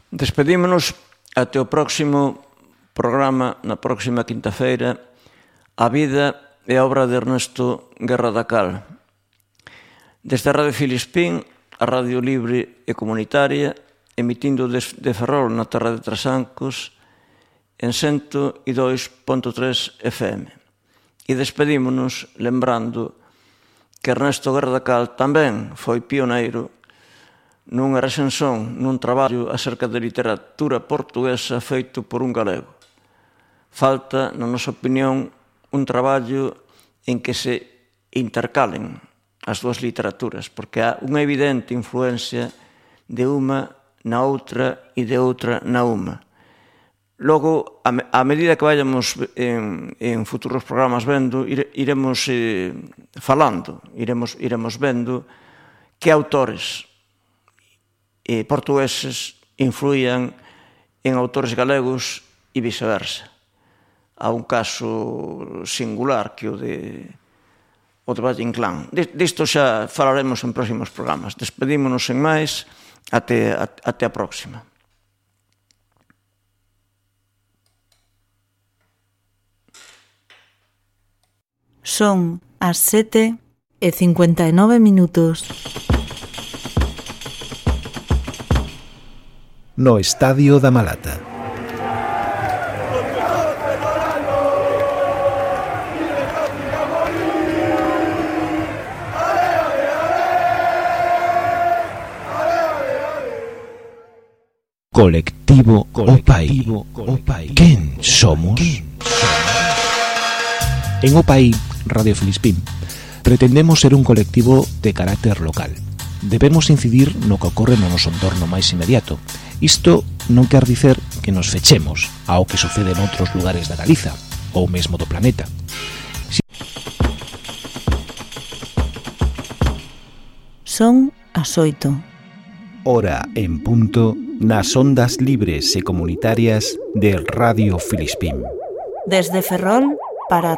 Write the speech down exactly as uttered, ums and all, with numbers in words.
Despedímonos até o próximo programa, na próxima quinta-feira, A vida e a obra de Ernesto Guerra da Cal. Desde a Radio Filispín, a Radio Libre e Comunitaria, emitindo de Ferrol na terra de Trasancos, en cento e dois punto tres F M. E despedímonos lembrando que Ernesto Guerra da Cal tamén foi pioneiro nunha recensión, nun traballo acerca de literatura portuguesa feito por un galego. Falta, na nosa opinión, un traballo en que se intercalen as dúas literaturas, porque há unha evidente influencia de unha na outra e de outra na unha. Logo, a medida que vayamos en, en futuros programas vendo, iremos eh, falando, iremos, iremos vendo que autores eh, portugueses influían en autores galegos e viceversa. Há un caso singular que o de o de Valle Inclán. Disto xa falaremos en próximos programas. Despedímonos en máis, até, até a próxima. Son as sete e cincuenta e nove minutos. No Estadio da Malata. Colectivo Opai. Opai. Quen somos? En Opai, Radio Filispín, pretendemos ser un colectivo de carácter local. Debemos incidir no que ocorre no noso entorno máis inmediato. Isto non quer dicer que nos fechemos ao que sucede en outros lugares da Galiza ou mesmo do planeta. Son as oito. Hora en punto nas ondas libres e comunitarias de Radio Filispín. Desde Ferrol para